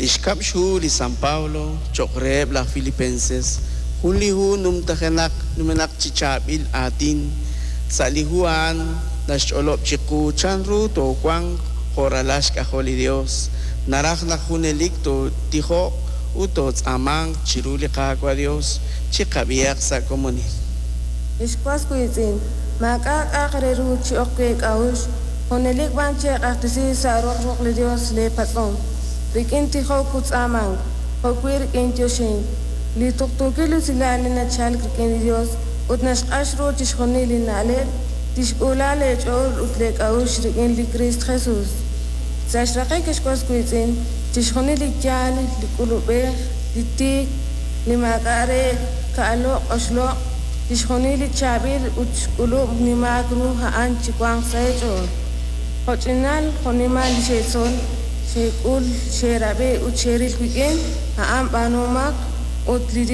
Li xkab' xhu li San Pablo cho'q reheb' laj Filipenses, jun li hu numtajenaq numenaq chi chaab'il aatin. Sa' li hu a'an naxch'olob' chiqu chanru toowanq jo' ralal xk'ajol li Yos. Naraj naq junelik tootijoq ut tootz'aamanq chiru li Qaawa' Yos. Chiqab'ihaq sa' komonil. Ex was wiitz'in, maak'a' k'a'aq re ru chi'ok wi' eek'a'uxl, junelik b'an cheq'axtesi sa' roq ruq' li Yos leepatz'om, rik'in tijok ut tz'aamank, jo'wi' rik'in yoxink. Li tuqtuukil usilal li nachalk rik'in li Yos ut naxq'ax ru chixjunil li na'leb', tixk'uula leech'ool ut leek'a'uxl rik'in li Kriist Jesus. Sa' xraqik, ex was wiitz'in, chixjunil li yaal, li k'ulub'ej, li tiik, li maak'a' reek', ka'aloq' oxloq', chixjunil li chaab'il ut xk'ulub' nimaak ru a'an chiwanq sa' eech'ool. Jo'ch'inal jo'nimal li xetzol, xek'ul, xerab'i ut xeril wik'in, a'an b'aanuhomaq ut li